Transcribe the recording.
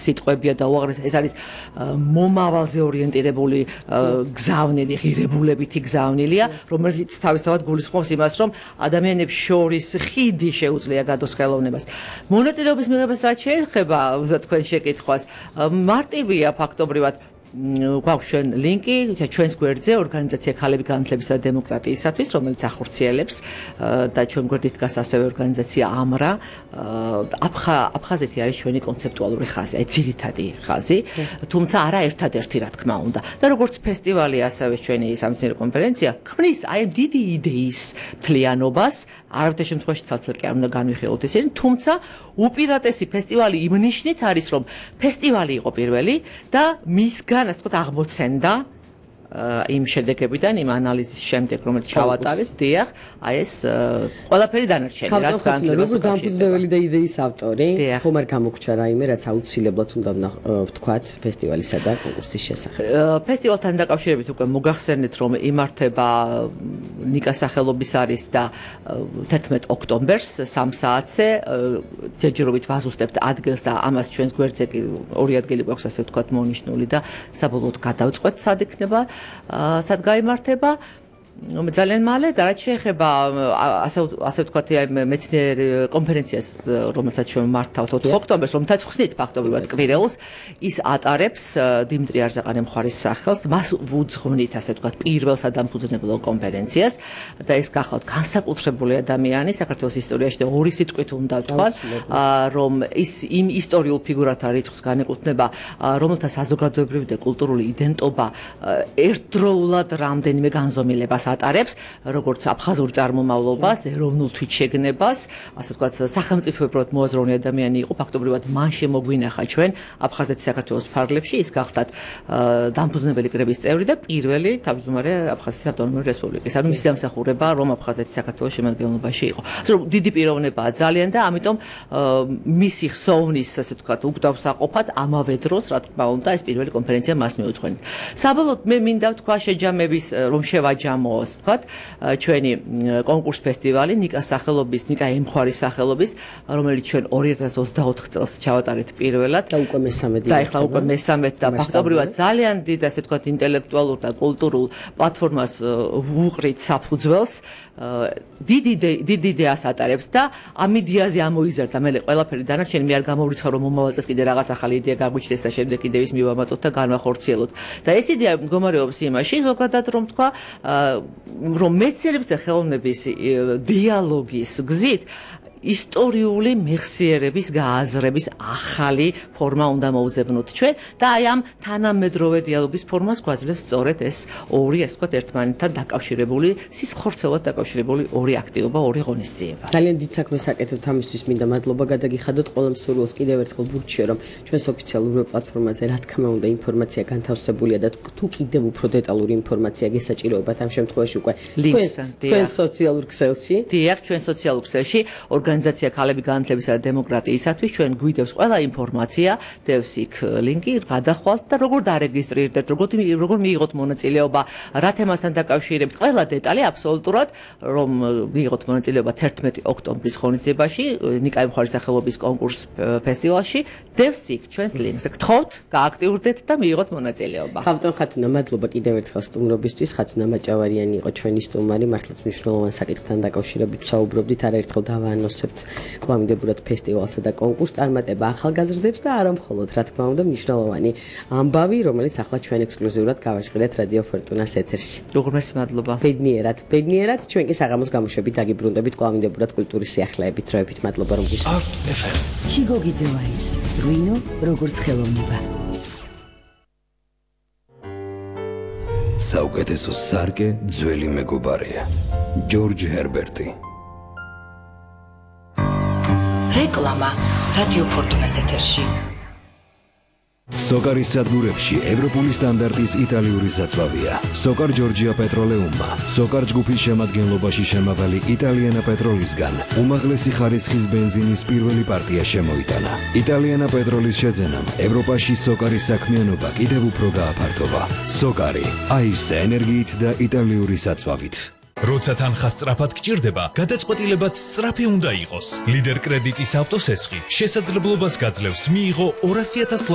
სიტყვებია და უაღრესად ეს არის მომავალზე ორიენტირებული გზავნილი, ღირებულებითი გზავნილია, რომელიც თავისთავად გულისხმობს იმას, რომ ადამიანებს შორის ხიდი შეუძლია გადოს ხელოვნებას. მონაწილეობის მიღებას რაც შეეხება თქვენ შეკითხვას, მარტივია ფაქტობრივად გვაქვს ჩვენ ლინკი ჩვენს გვერდზე ორგანიზაცია ქალები განათლებისა და დემოკრატიისათვის, რომელიც ახორციელებს და ჩვენ გვერდით დგას ასევე ორგანიზაცია ამრა. აფხაზეთი არის ჩვენი კონცეპტუალური ხაზი, აი ძირითადი ხაზი, თუმცა არა ერთადერთი რა თქმა უნდა. და როგორც ფესტივალი, ასევე ჩვენი სამეცნიერო კონფერენცია ქმნის აი დიდი იდეის მთლიანობას, არავითარ შემთხვევაში ცალ-ცალ კი არ უნდა განვიხილოთ ისინი, თუმცა უპირატესი ფესტივალი იმ ნიშნით არის, რომ ფესტივალი იყო პირველი და მისგან ასე ვთქვათ აღმოცენდა იმ შედეგებიდან, იმ ანალიზის შემდეგ, რომელიც ჩავატარეთ, დიახ, აი ეს ყველაფერი დანარჩენი, რაც განათლებას როგორც დამფუძნებელი და იდეის ავტორი, ხომ არ გამოგჩა რაიმე, რაც აუცილებლად უნდა ვთქვათ ფესტივალისა და კონკურსის შესახებ. ფესტივალთან დაკავშირებით უკვე მოგახსენეთ, რომ იმართება ნიკას სახელობის არის და 11 ოქტომბერს 3 საათზე ჯერჯერობით ვაზუსტებთ ადგილს და ამას ჩვენს გვერდზე კი ორი ადგილი გვაქვს, ასე ვთქვათ, მონიშნული და საბოლოოდ გადავწყვეტ სად იქნება, სად გაიმართება. ძალიან მალე და რაც შეეხება ასე ვთქვათ მეცნიერ კონფერენციას, რომელსაც ჩვენ მართავთ 4 ოქტომბერს, რომელთაც ხსნით ფაქტობრივად კვირეულს, ის ატარებს დიმიტრი არზაყანის მხარის სახელს, მას ვუძღვნით ასე ვთქვათ პირველ სადამფუძნებლო კონფერენციას და ეს გახლავთ განსაკუთრებული ადამიანი საქართველოს ისტორიაში და ორი სიტყვით უნდა ვთქვათ, რომ ის იმ ისტორიულ ფიგურათა რიცხვს განეკუთვნება, რომელთა საზოგადოებრივი და კულტურული იდენტობა ერთდროულად რამდენიმე განზომილებას ატარებს, როგორც აფხაზურ წარმომავლობას, ეროვნულ თვითშეგნებას, ასე ვთქვათ, სახელმწიფოებრივად მოაზროვნე ადამიანი იყო, ფაქტობრივად მან შემოგვინახა ჩვენ აფხაზეთის საქართველოს ფარგლებში, ის გახდათ დამფუძნებელი კრების წევრი და პირველი თავმჯდომარე აფხაზეთის ავტონომიური რესპუბლიკის. ანუ მისი დამსახურება, რომ აფხაზეთი საქართველოს შემადგენლობაში იყო. დიდი პიროვნებაა ძალიან და ამიტომ მისი ხსოვნის, ასე ვთქვათ, უკდავსაყოფად ამავე დროს, რა თქმა უნდა, ეს პირველი კონფერენცია მას მიუძღვენით. საბოლოოდ მე მინდა ვთქვა შეჯამების, რომ შევაჯამო ვთქვათ, ჩვენი კონკურს ფესტივალი ნიკას სახელობის, ნიკა ემხარის სახელობის, რომელიც ჩვენ 2024 წელს ჩავატარეთ პირველად და უკვე მესამედი. და ეხლა უკვე მესამედი და ფაქტობრივად ძალიან დიდ, ასე ვთქვათ, ინტელექტუალურ და კულტურულ პლატფორმას ვუყრით საფუძველს. დიდი იდეას ატარებს და ამ იდეაზე ამოიზარდა მე ყველაფერი დანარჩენი, მე არ გამოვრიცხავ, რომ მომავალ წელს კიდე რაღაც ახალი იდეა გაგვიჩნდეს და შემდეგ კიდევ ის მივამატოთ და განვახორციელოთ. და ეს იდეა მდგომარეობს იმაში, ზოგადად რომ თქვა, რომ მეცნიერების და ხელოვნების დიალოგის გზით ისტორიული მეხსიერების გააზრების ახალი ფორმა უნდა მოუძებნოთ ჩვენ და აი ამ თანამედროვე დიალოგის ფორმას გვაძლევს სწორედ ეს ორი, ასე ვთქვათ, ერთმანეთთან დაკავშირებული, სისხლხორცელად დაკავშირებული ორი აქტივობა, ორი ღონისძიება. ძალიან დიდ საქმეს აკეთებთ ამისთვის, მინდა მადლობა გადაგიხადოთ ყველა მსურველს, კიდევ ერთხელ ვურჩიო, რომ ჩვენს ოფიციალურ პლატფორმაზე რა თქმა უნდა ინფორმაცია განთავსებულია და თუ კიდევ უფრო დეტალური ინფორმაცია გესაჭიროებათ ამ შემთხვევაში უკვე თქვენ სოციალურ ქსელში. დიახ, ჩვენ სოციალურ ქსელში ორგანიზაცია ქალები განათლებისა და დემოკრატიისათვის ჩვენ გვიდევს ყველა ინფორმაცია, დევს იქ ლინკი, გადახვალთ და როგორ დარეგისტრირდეთ, როგორ მიიღოთ მონაწილეობა, რა თემასთან დაკავშირებით, ყველა დეტალი აბსოლუტურად, რომ მიიღოთ მონაწილეობა 11 ოქტომბრის ღონისძიებაში, ნიკა ემხარის სახელობის კონკურს ფესტივალში, დევს იქ ჩვენს ლინკს. გთხოვთ, გააქტიურდეთ და მიიღოთ მონაწილეობა. ხავტონ ხათუნა, მადლობა კიდევ ერთხელ სტუმრობისთვის. ხათუნა მაჭავარიანი იყო ჩვენი სტუმარი, მართლაც მნიშვნელოვან საკითხთან დაკავშირებით ვსაუბრობდით, არაერთხელ დავაანონსებთ კვლავინდებურად ფესტივალსა და კონკურსს წარმატება ახალგაზრდებს და არა მხოლოდ, რა თქმა უნდა, მნიშვნელოვანი ამბავი, რომელიც ახლა ჩვენ ექსკლუზიურად გავაჟღერეთ რადიო ფორტუნას ეთერში. უღრმესი მადლობა. ბედნიერად, ჩვენ კი საღამოს გამოშვებით დაგიბრუნდებით კვლავინდებურად კულტურის სიახლეებით. დროებით მადლობა რომ გისურვებთ. ჩიგოგიძევა ის, რუინო როგორც ხელოვნება. საუკეთესო სარკე ძველი მეგობარია. ჯორჯ ჰერბერტი. რეკლამა რადიო ფორტუნას ეთერში. სოკარის სადგურებში ევროპული სტანდარტის იტალიური საწვავია. სოკარ ჯორჯია პეტროლეუმმა, სოკარ ჯგუფის შემადგენლობაში შემავალი იტალიანა პეტროლისგან უმაღლესი ხარისხის ბენზინის პირველი პარტია შემოიტანა. იტალიანა პეტროლის შეძენამ ევროპაში სოკარის საქმიანობა კიდევ უფრო გააფართოვა. სოკარი, აირსა ენერგიით და იტალიური საწვავით. როცა თანხა სწრაფად გჭირდება, გადაწყვეტილებაც სწრაფი უნდა იყოს. ლიდერ კრედიტის ავტოსესხი შესაძლებლობას გაძლევს მიიღო 200,000